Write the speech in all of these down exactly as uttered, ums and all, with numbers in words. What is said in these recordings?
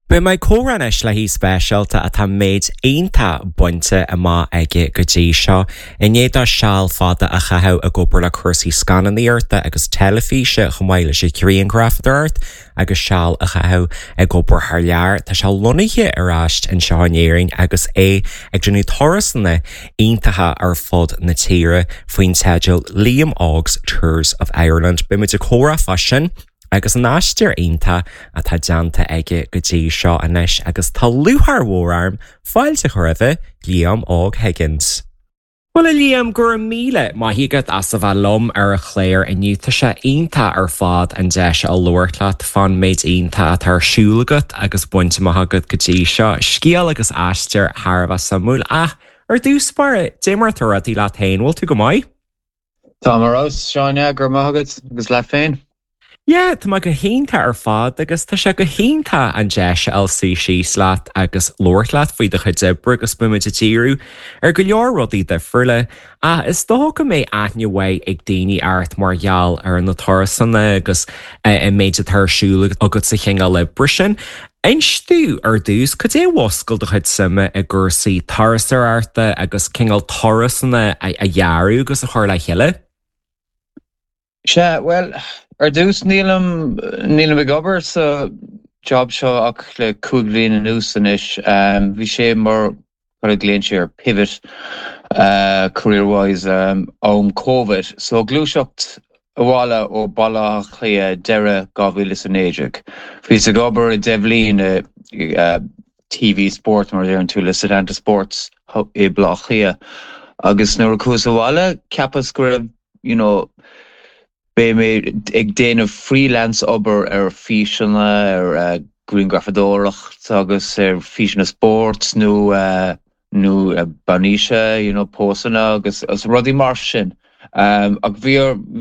Beidh mé ag comhrá anois le haoi speisialta atá méid iontach bainte amach aige go dtí seo. I ndiaidh dó seal fada a chaitheamh ag obair le cúrsaí scannánaíochta agus teilifíse chomh maith leis an ghrianghrafadóireacht agus seal a chaitheamh ag obair thar lear. Tá sé lonnaithe ar ais anseo in Éirinn agus é ag déanamh turasanna iontacha ar fud na tíre faoin teideal Liam Óg's Tours of Ireland. Beimid ag comhrá fá sin. agus an aistear iontach atá déanta aige go dtí seo anois agus tá lúcháir mhór orm fáilte a chur roimh Liam Óg Higgins. Well a Liam go raibh míle maith agat as a bheith liom ar an chlár inniu tá sé iontach ar fad an deis a labhairt leat fán méid iontach atá ar siúl agat agus bainte amach agat go dtí seo, scéal agus aistear thar a bheith suimiúil ach ar dtús báire cad é mar atá rudaí leat féin, bhfuil tú go maith? Tá mar Seáine gur maith agat agus leat féin? Yeah, tá mé go hiontach ar fad agus tá sé go hiontach an deis a fháil suí síos leat agus labhairt leat faoi do chuid oibre agus beimid ag díriú ar go leor rudaí difriúla. Ach is dócha go mbeidh aithne mhaith ag daoine ort mar gheall ar na turasanna agus an méid atá ar siúl agat sa chineál oibre sin. Inis domh ar dtús cad é a mhúscail do chuid suime i gcúrsaí turasóireachta agus cineál turasanna a dhearadh agus a chur le chéile. Sea, well, ar dtús nílim nílim ag obair sa job seo ach le cúig bliana anuas anois. Um, bhí sé mar a glaonn sé ar pivot uh, career-wise um, am COVID. So gluaiseacht abhaile ó Bhaile Átha Cliath deireadh dhá mhíle is a naoi déag. Bhíos ag obair i deich mbliana uh, TV Sport mar ar an tú le Setanta Sports i Baile Átha Cliath. Agus nuair a chuas abhaile cheapas go raibh you know, Beidh mé ag déanamh freelance obair ar físeanna ar uh, grianghrafadóireacht agus ar físeanna spóirt nó uh, nó uh, bainise you know, pósanna agus agus rudaí mar sin. Um, ach bhí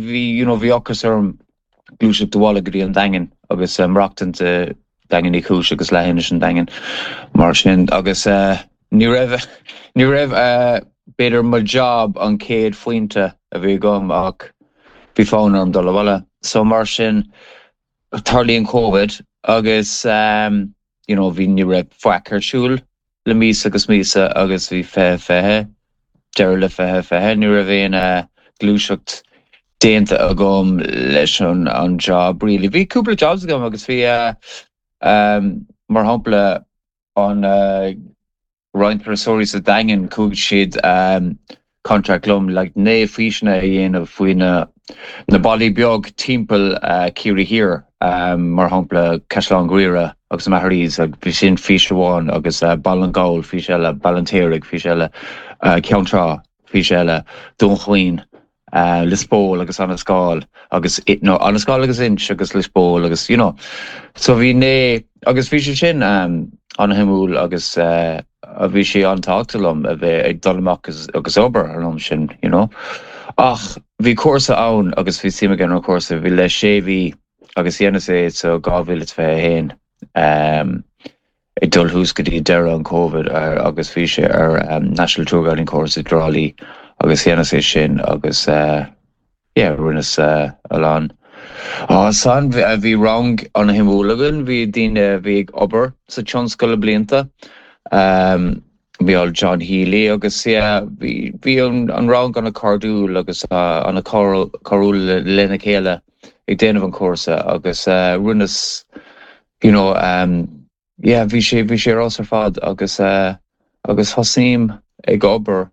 bhí you know, bhí ocras orm gluaiseacht abhaile go dtí an Daingean agus um, maireachtaint uh, Daingean Uí Chúis agus leithinis an Daingean mar sin agus uh, ní raibh ní raibh uh, b'fhéidir mo job an chéad phointe a bhí agam ach bhí fonn orm dul abhaile. So mar sin tarlaíonn COVID agus um, you know, bhí ní raibh faic ar siúl le mí agus míosa agus bhí fiche fiche deireadh le fiche fiche ní raibh aon uh, gluaiseacht déanta agam leis an an job really. Bhí cúpla jobs agam agus bhí uh, um, mar shampla an uh, Roinn Turasóirí sa Daingean chuaigh siad um, contract liom le naoi físeanna a dhéanamh faoi na na bailí beag timpeall uh, Ciarraí Thiar um, mar shampla Caisleán Ghriaire agus Maharees ag bhí sin fís amháin agus uh, Baile na nGall fís eile Baile an Fheirtéaraigh fís eile uh, Ceann Trá fís eile Dún Chaoin uh, Lispole agus Annascaul agus no, Annascaul agus Inch agus Lispole agus you know so bhí né agus bhí sé sin um, an-shuimiúil agus uh, a bhí sé an-tábhachtach liom a bheith ag dul amach agus, agus obair an am sin you know. Ach bhí cúrsa ann agus bhí suim agam an cúrsa bhí le sé mhí agus dhéanas é so dhá mhíle fiche haon um, ag dul thuas go dtí deireadh an COVID ar, agus bhí sé ar um, National Tour Guiding Course i dTrá Lí agus dhéanas é sin agus uh, yeah, rinneas uh, a lán. Á san bhí rang an-shuimiúil againn, bhí daoine bhí ag obair sa tionscal le blianta. Um, bhí all John Healy agus bhí bhí an, an rang an-chairdiúil agus uh, an-chairdiúil lena chéile ag déanamh an cúrsa agus uh, rinneas you know, um, yeah, bhí sé bhí sé ar fad agus uh, agus thosaím ag obair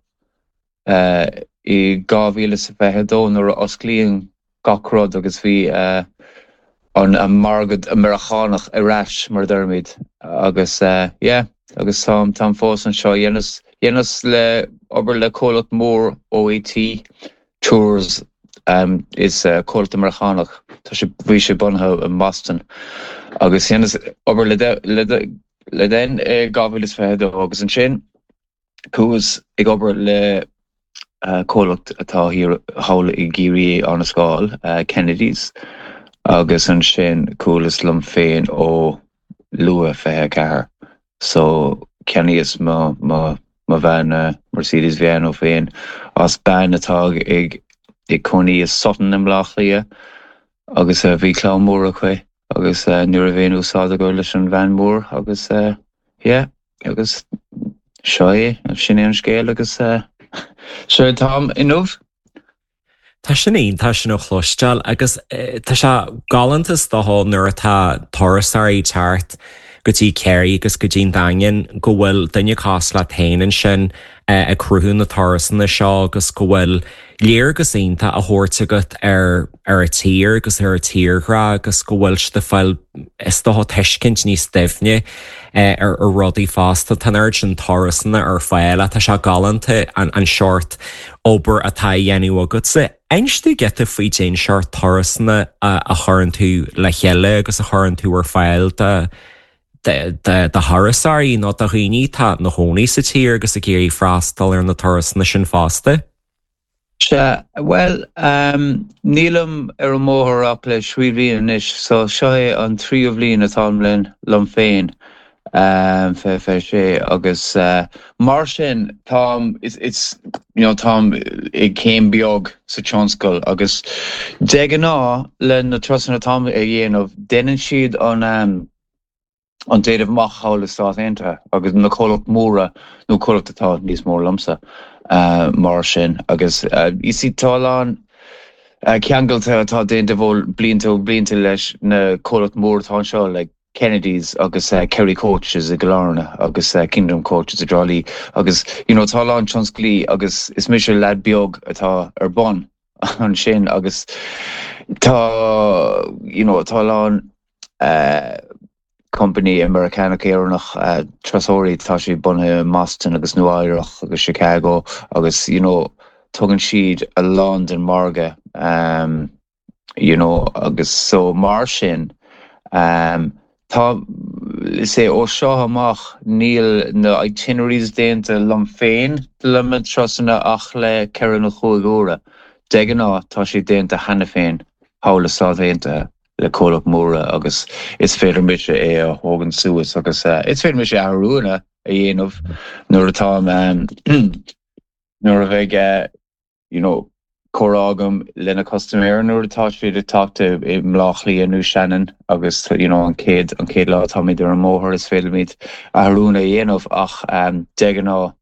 uh, i dhá mhíle sa fiche dó nuair a osclaíonn gach rud agus bhí uh, an an margadh Meiriceánach ar ais mar deirimid agus uh, yeah, agus tá tá fós anseo dhéanas dhéanas le obair le comhlacht mór OAT Tours um, is uh, comhlacht Meiriceánach Tá sé bhí sé bunaithe i Boston agus dhéanas obair le le le den dhá mhíle is fiche dó agus ansin chuas ag obair le uh, comhlacht atá thall i gCiarraí Annascaul uh, Kennedy's agus ansin chuas liom féin ó luath fiche ceathair. So cheannaíos mo mo mo veain uh, Mercedes veain ó féin as bean atá ag ag cónaí i Sutton i mBaile Átha Cliath agus uh, bhí clann mór aici agus uh, ní raibh aon úsáid agam leis an veain mór agus uh, yeah, agus seo é sin é an scéal agus uh, seo táim inniu. Tá sin iontach sin a chloisteáil agus eh, tá sé galánta is dócha nuair atá turasóirí teacht go dtí Ciarraí agus go dtí an Daingean go bhfuil duine cosúil leat féin ansin eh, ag cruthú na turasanna seo agus go bhfuil léargas iontach á thabhairt agat ar ar an tír agus ar an tírdhreach agus go bhfuil siad ag fáil is dócha tuiscint níos doimhne eh, ar ar rudaí fosta tá an sin turasanna ar fáil tá sé galánta an an seort obair atá á dhéanamh agatsa. Inis dúinn giota faoi cén seort turasanna a, a chuireann tú le chéile agus a chuireann tú ar fáil de de thurasóirí nó do dhaoine atá ina gcónaí sa tír agus ag iarraidh freastal ar na turasanna sin fosta. Sea, well um, nílim ar an mbóthar ach le trí bhliain anois, so seo é an tríú bliain atáim linn liom féin um, fe fe sé agus uh, mar sin táim it's, it's you know, táim ag céim beag sa tionscal agus de ghnáth le na turasanna atáim a dhéanamh déanann siad an um, an déanamh amach thall i Stáit Aontaithe agus na comhlacht móra nó comhlacht atá níos mó liomsa uh, mar sin agus uh, is tá an uh, ceangailte atá déanta bhfuil blianta ó blianta leis na comhlacht mór atá seo like Kennedy's agus uh, Kerry Coaches i Galarna agus uh, Kingdom Coaches i dTrá Lí agus you know, tá an tionsclaí agus is mise leaid beag atá ar bun ansin agus tá you know, tá an uh, company Americanach Éireannach uh, turasóirí tá sé bunaithe i mBoston agus Nua-Eabhrac agus Chicago agus you know, tugann siad a lán den margadh um, you know, agus so mar sin um, tá sé ó seo amach níl na itineraries déanta liom féin le na turasanna ach le ceithre nó cúig uaire. De ghnáth tá sé déanta cheana féin thall i Stáit Aontaithe le comhlacht móra agus is féidir mise é a thógáil suas agus uh, is féidir mise athruithe a dhéanamh nuair atá um, nuair a bheidh uh, you know, comhrá agam lena customer nuair atá siad ag teacht i mBleá Cliath nó Shannon agus you know, an chéad an chéad lá táimid ar an mbóthar is féidir athrú a dhéanamh ach um, de ghnáth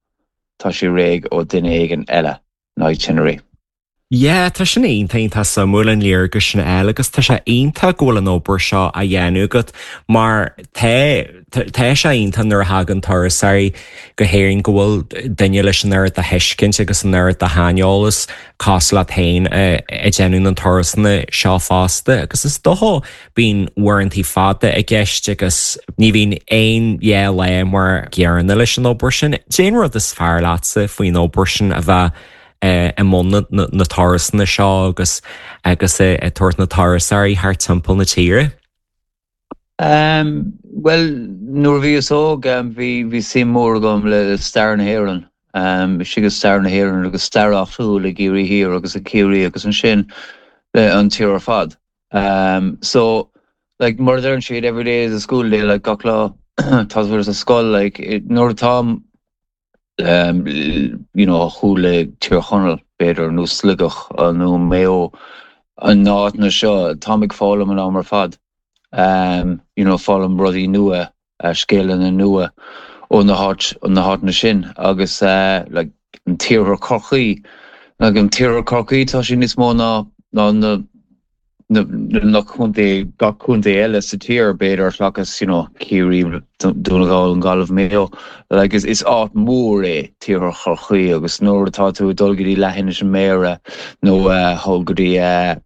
tá sé réidh ó duine éigin eile na itinerary. Yeah, tá sin iontach tá suimiúil an léargas sin eile agus tá sé iontach go bhfuil an obair seo á dhéanamh agat mar tá tá sé iontach nuair a thagann turasóirí go hÉirinn go bhfuil duine leis an oiread de thuiscint agus an oiread de shaineolas cosúil leat féin ag déanamh na turasanna seo fosta agus is dócha bíonn uaireanta fada i gceist agus ní bhíonn aon dhá lá mar gcéanna leis an obair sin. Cén rud is fearr leatsa faoin obair sin a bheith i mbun na turasanna seo agus agus ag tabhairt na turasóirí thar timpeall na tíre? Um, well nuair bhíos óg um, bhí bhí suim mór agam le stair na hÉireann. Um, si go stair na hÉireann agus stair áitiúil i gCiarraí Thiar agus a Ciarraí agus ansin le an tír ar fad. Um, so like mar a deireann siad every day is a school day like gach lá tá sa scoil like nuair atá um, you know, chuile Tír Chonaill b'fhéidir nó Sligeach nó Mayo an áit na seo táim ag foghlaim an am ar fad. Um, you know, foghlaim rudaí nua uh, scéalana nua ó na háit na háiteanna sin agus uh, like, an tIarthar Chorcaí like, an tIarthar Chorcaí tá sé níos mó ná ná na na na contae gach contae eile sa tír b'fhéidir seachas you know, Ciarraí Dún na nGall an Gaillimh Mayo like, is, is áit mór é tIarthar Chorcaí agus nuair atá tú dul go dtí leithinis an Méara nó uh, go dtí uh,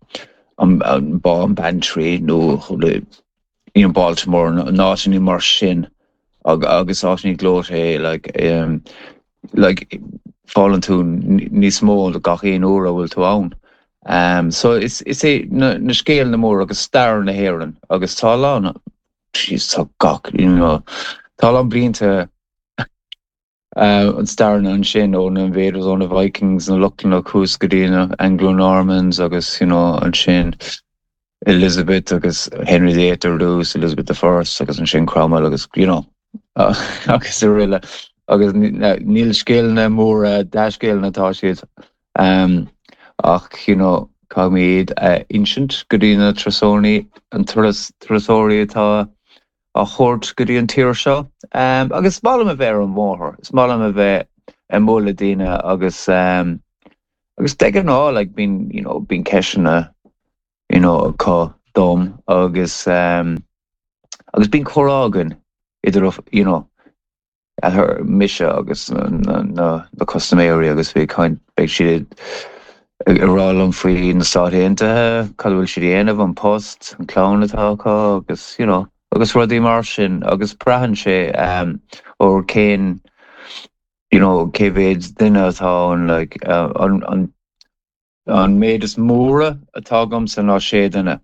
an, an bá an Bantry nó you know, Baltimore áiteanna mar sin ag, agus áiteanna gleoite like, um, like, foghlaimíonn tú níos mó gach aon uair a bhfuil tú ann. Um, so is, is é na, na scéalana mór agus stair na hÉireann agus tá lá tá gach you know, tá an blianta uh, an stair ansin ó na invaders ó na Vikings na Lochlannach thuas go dtí na Anglo-Normans agus you know, ansin Elizabeth agus Henry the Eighth ar dtús Elizabeth the First agus ansin Cromwell agus you know, uh, agus araile agus níl scéalana mór dea-scéalana tá siad um, ach you know, Caithfidh mé iad a insint go dtí na turasóirí an turasóirí atá á thabhairt go dtí an tír seo. Um, agus is maith liom a bheith ar an bhóthar, is maith liom a bheith ag bualadh le daoine agus um, agus de ghnáth like, bíonn you know, bíonn ceisteanna you know, acu dom agus um, agus bíonn comhrá againn idir you know, mise agus na, na, na, na custaiméirí agus bhí beidh siad ag rá liom faoi na Stáit Aontaithe, cad bhfuil siad déanamh an post, an clann atá acu agus you know, agus rudaí mar sin agus braitheann sé um, ó cén you know, cé mhéad duine atá an like, uh, an, an, an méid is móra atá agamsa ná sé duine.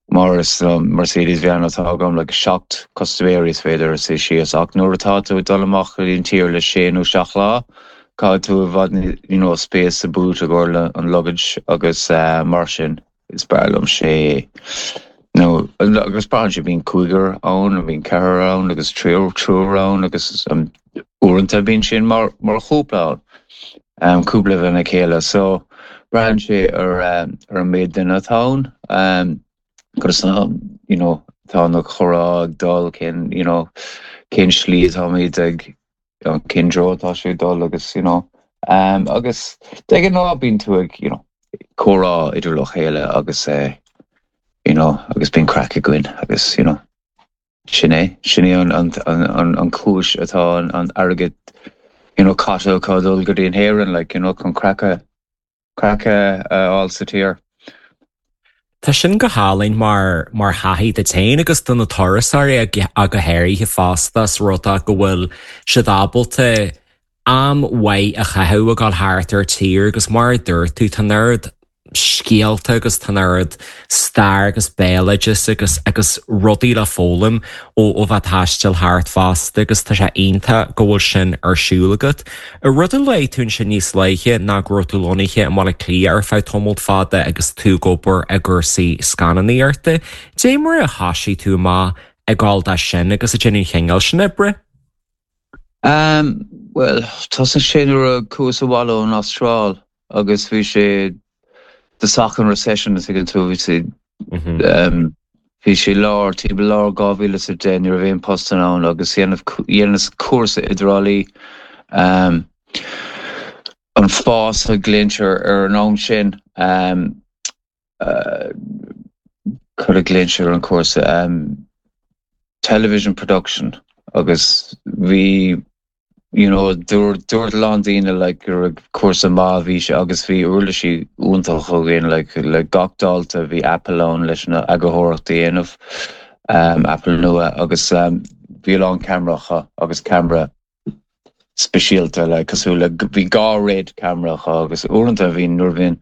Mar is um, Mercedes van atá agam le seacht custaiméirí is féidir a suí síos ach nuair atá tú dul amach an tír le sé nó seacht lá, caithfidh tú i bhfad you know, space sa boot a chur le an luggage agus uh, mar sin is fearr liom sé no agus braitheann sé bíonn cúigear ann bíonn ceathrar ann agus triúr triúr ann agus um, uaireanta bíonn sin mar mar chúpla ann um, cúpla lena chéile so braitheann sé ar um, ar an méid duine atá ann um, agus um, you know, tá na comhrá ag dul cén you know, cén slí táimid ag cén treo tá sé dul agus you know, um, agus de ghnáth bíonn tú ag you know, comhrá idir le chéile agus uh, you know, agus bíonn craic againn agus you know, sin é sin é an, an, an, an, an chúis atá an, an airgead you know, caite acu dul go dtí an Éirinn like, you know, chun craic a craic a fháil sa tír. Tá sin go hálainn mar mar thaithí duit féin agus do na turasóirí a go háirithe fosta is rud go bhfuil siad ábalta am mhaith a chaitheamh ag dul thart ar tír agus mar a dúirt tú tá an oiread scéalta agus tá an oiread stair agus béaloideas agus agus rudaí le foghlaim ó ó bheith taisteal thart fosta agus tá sé iontach go bhfuil sin ar siúl agat. A rud a luaigh tú sin níos luaithe ná go raibh tú lonnaithe i mBaile Átha Cliath ar feadh tamall fada agus tú ag obair i gcúrsaí scannánaíochta. Dé mar a thosaigh tú amach ag dul dá sin agus ag déanamh an chineál sin oibre? Um, well, thosaigh sé nuair a chuas abhaile ón Astráil agus bhí sé the an recession is ag tú bhí sé um, bhí sé lár tí lár dhá mhíle sa deich ní raibh aon post ann agus dhéanas cúrsa i dTrá Lí um, an FÁS a glaoitear ar an am sin um, uh, cad a glaoitear an cúrsa um, television production agus bhí you know dúirt dúirt a lán daoine like gur cúrsa maith bhí sé agus bhí uirlisí iontach againn like le gach dalta bhí Apple ann leis na eagarthóireacht a dhéanamh um, Apple nua agus um, bhí a lán ceamaracha agus ceamara speisialta le cosúil le bhí dhá RED cameracha agus uaireanta bhí nuair bhíonn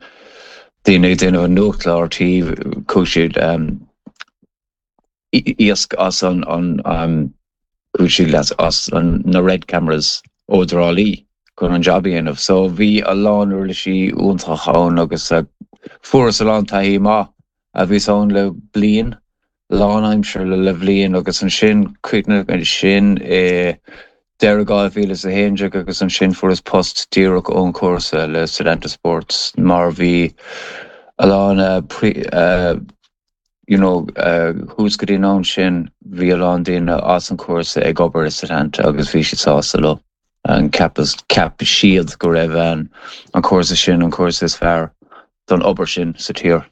daoine ag déanamh an nuachtchlár tí chuir siad um, iasc as an an um, chuir siad leas as an na RED cameras ó Thrá Lí chun an job a dhéanamh. So bhí a lán uirlisí iontach ann agus uh, fuaireas a lán taithí maith a bhí ann le bliain lánaimseartha le le bliain agus ansin chríochnaigh sin i deireadh dhá mhíle a haon déag agus ansin fuaireas post díreach ón cúrsa le Setanta Sports mar bhí a lán uh, pre, uh, you know, uh, thuas go dtí an am sin bhí a lán daoine as an cúrsa ag obair i Setanta agus bhí siad sásta leo. An ceap ceap siad go raibh an an cúrsa sin an cúrsa is fearr don obair sin sa tír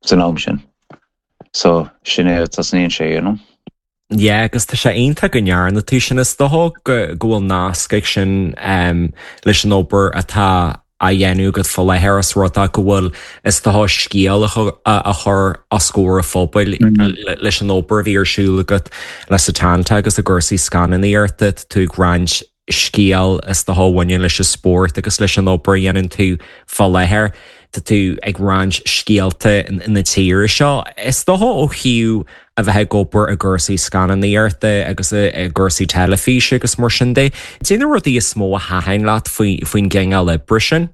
san am sin. So sin é tosnaíonn sé you know? Yeah, agus tá sé iontach go ndearna tú sin is dócha go go bhfuil nasc ag sin um, leis an obair atá á dhéanamh agat faoi láthair is rud go bhfuil is dócha scéal a chur os comhair an phobail leis an obair bhí ar siúl agat le Setanta agus i gcúrsaí scannánaíochta tú ag roinnt scéal is dócha a bhaineann leis an spórt agus leis an obair a dhéanann tú faoi láthair Tá tú ag roinnt scéalta na tíre seo. Is dócha ó thaobh a bheith ag obair i gcúrsaí scannánaíochta agus i gcúrsaí teilifíse agus mar sin de. Cé na rudaí is mó a thaitin leat faoin gcineál oibre sin?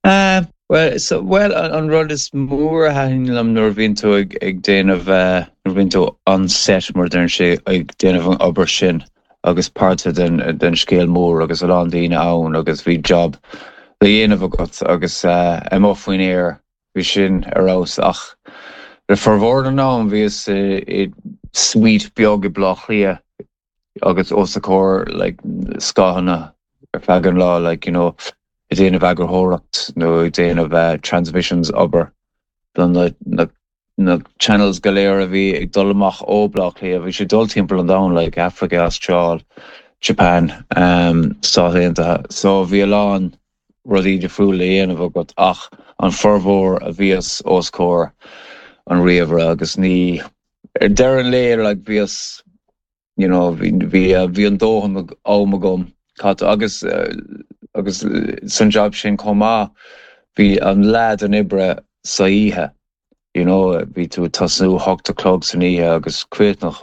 Uh, well, so, well an, an rud is mór a thaitin liom nuair bhíonn tú ag, ag déanamh uh, nuair bhíonn tú on set mar deireann sé ag déanamh an obair sin agus páirt den, den scéal mór agus a lán daoine ann agus bhí job le dhéanamh agat agus uh, amuigh faoin aer bhí bhí sin ar fheabhas ach le formhór den am bhíos i suite beag i Bleá Cliath agus os a comhair like scáileáin ar feadh an lá like you know ag déanamh eagarthóireacht nó ag déanamh uh, transmissions obair don na, na, na channels go léir a bhí ag dul amach ó Bleá Cliath bhí sé dul timpeall an domhain like Africa, Astráil, Japan, um, Stáit Aontaithe. So bhí a lán rudaí difriúla le déanamh agat ach an formhór a bhíos os comhair an ríomhaire agus ní ar deireadh an lae like bhíos you know bhí bhí bhí an dóthain am agam caite agus uh, agus san job sin chomh maith bhí an leath den oibre sa oíche you know bhí tú tosú hocht a chlog san oíche agus críochnú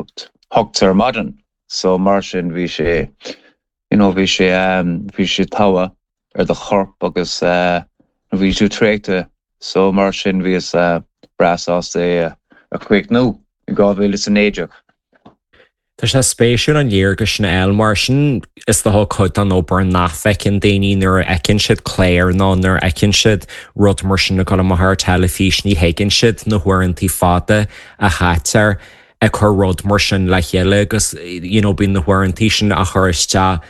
hocht ar maidin so mar sin bhí sé you know bhí sé um, bhí sé togha ar do chorp agus uh, bhí tú traochta so mar sin bhíos uh, breá sásta é a chríochnú i dhá mhíle is a naoi déag. Tá sé spéisiúil an léargas sin eil mar sin is dócha cuid den obair nach bhfeiceann daoine nuair a fheiceann siad clár nó nuair a fheiceann siad rud mar sin ag dul amach ar teilifís ní thuigeann siad na huaireanta fada a chaitear ag cur rud mar sin le chéile agus you know, bíonn na huaireanta sin á chur isteach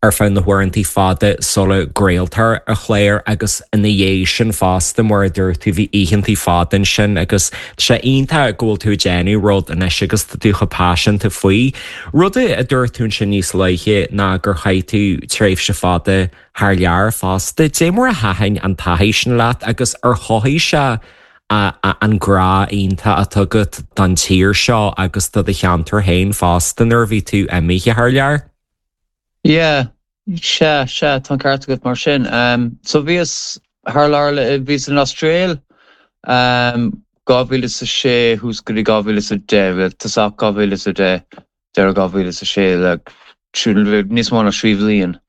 ar feadh na huaireanta fada sula gcraoltar an clár agus ina dhiaidh sin fosta mar a dúirt tú bhí oícheanta fada sin agus sé iontach go bhfuil tú déanamh rud anois agus tú chomh paiseanta faoi. Rud a dúirt tú sin níos luaithe ná gur chaith tú tréimhse fada thar lear fosta, Dé mar a thaitin an taithí sin leat agus ar chothaigh sé an grá iontach atá agat don tír seo agus do do cheantar féin fosta nuair a bhí tú imithe thar lear? Yeah, sea sea tá ceart agat mar sin. Um, so bhíos thar lear bhíos san Astráil um, dhá mhíle a sé thuas go dtí dhá mhíle a deich tosach dhá mhíle a deich deireadh dhá mhíle a sé le níos mó ná trí bhliain.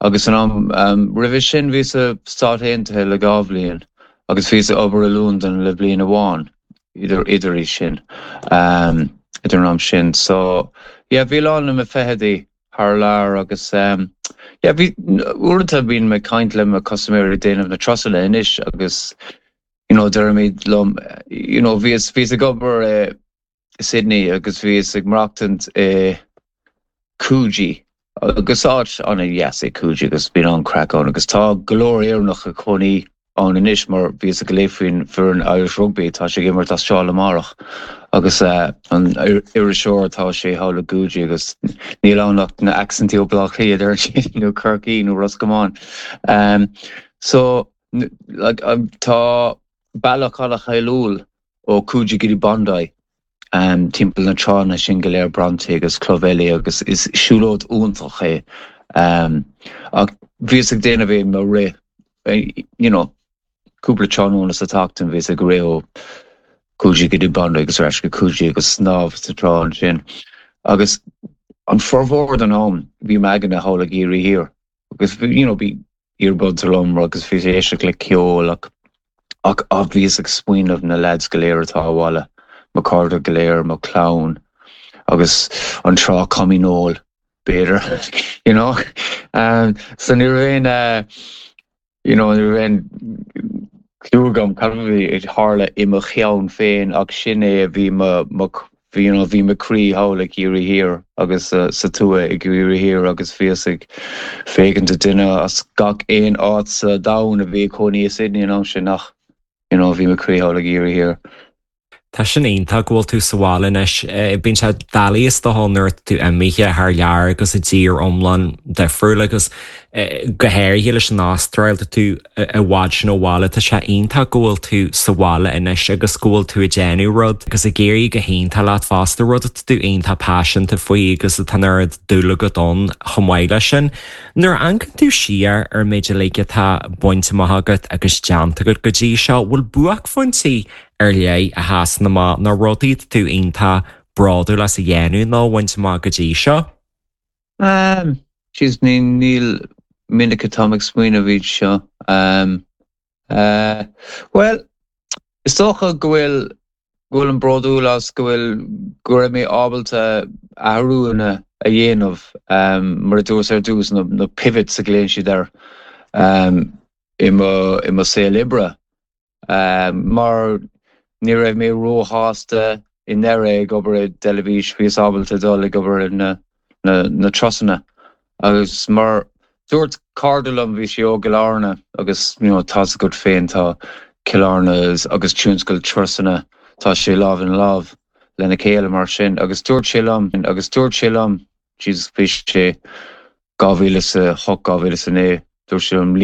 Agus an am um, roimhe sin bhíos sna Stáit Aontaithe le dhá bhliain, agus bhíos ag obair i Londain le bliain amháin idir idir í sin um, idir an am sin. So yeah, bhí lán na fichidí thar lear agus um, yeah, bhí uaireanta bíonn mé caint le mo custaiméirí déanamh na turasanna anois agus you know, deirimid liom you know, bhíos bhíos ag obair uh, Sydney agus bhíos ag maireachtaint i Coogee agus áit an-deas é Coogee agus bíonn an-chraic ann agus tá go leor Éireannach ag cónaí ann anois mar bhíos ag léamh faoin foireann Irish Rugby tá sé ag imirt Astráil amárach agus uh, an iriseoir tá sé thall i Coogee agus níl ann ach na accentí ó Bleá Cliath ar sin nó Corcaigh nó Ros Comáin. Um, so like, um, tá bealach an-cháiliúil ó Coogee go dtí Bondi um, timpeall na tránna sin go léir Bronte agus Clovelly agus is siúlóid iontach é. Um, ach bhíos ag déanamh é mo rith you know, cúpla tráthnóna sa tseachtain bhíos ag rith ó Coogee go dtí Bondi agus ar ais go Coogee agus snámh sa trá sin. Agus an formhór den am bhí m'aigne thall i gCiarraí Thiar. agus you know, bhí earbuds liom agus bhí éisteacht le ceol ach ach a bhíos ag smaoineamh na lads go léir atá abhaile, mo chairde go léir mo chlann agus an trá Cominól b'fhéidir you know um, so ní raibh uh, you know ní raibh clue agam cad a bhí ag tarlú i mo cheann féin ach sin é a bhí bhí you know, bhí mo chroí thall i gCiarraí Thiar agus uh, sa tuath i gCiarraí Thiar agus bhíos ag féachaint duine as gach aon áit sa domhan a bhí cónaí i Sydney an am sin nach you know, bhí mo chroí thall i gCiarraí Thiar. Tá sin iontach go bhfuil tú sa bhaile anois bíonn sé doiligh is dócha nuair tú imithe thar lear agus i dtír iomlán difriúil agus go háirithe leis an Astráil tú i bhfad sin ó bhaile tá sé iontach go bhfuil tú sa bhaile anois agus go bhfuil tú ag déanamh rud agus ag éirí go hiontach leat fosta rud tú iontach paiseanta faoi agus atá an dúil agat ann chomh maith leis sin. Nuair a amharcann tú siar ar méid uilig atá bainte amach agat agus déanta agat go dtí seo bhfuil buaicphointí ar leith a sheasann amach nó rudaí tú iontach bródúil as a dhéanamh nó bhaint amach go dtí seo? Um, Jeez, ní níl minic atá ag smaoineamh iad seo. Um, uh, well, is dócha go bhfuil go bhfuil an bródúil as go bhfuil go raibh mé ábalta athrúna a dhéanamh um, mar a dúirt ar dtús na, na pivots a ghlaonn siad air um, i mo i mo saol oibre. Um, mar ní raibh mé róshásta i ndáiríre ag obair i dteilifís bhíos ábalta dul ag obair na, na, na turasanna. agus mar dúirt cara liom bhí sé ó Chill Airne agus you know, tá go féin tá Cill Airne agus tionscal turasanna tá sé lámh in lámh lena chéile mar sin agus dúirt sé liom agus dúirt sé liom Jesus bhí sé dhá mhíle a hocht dhá mhíle a naoi dúirt sé liom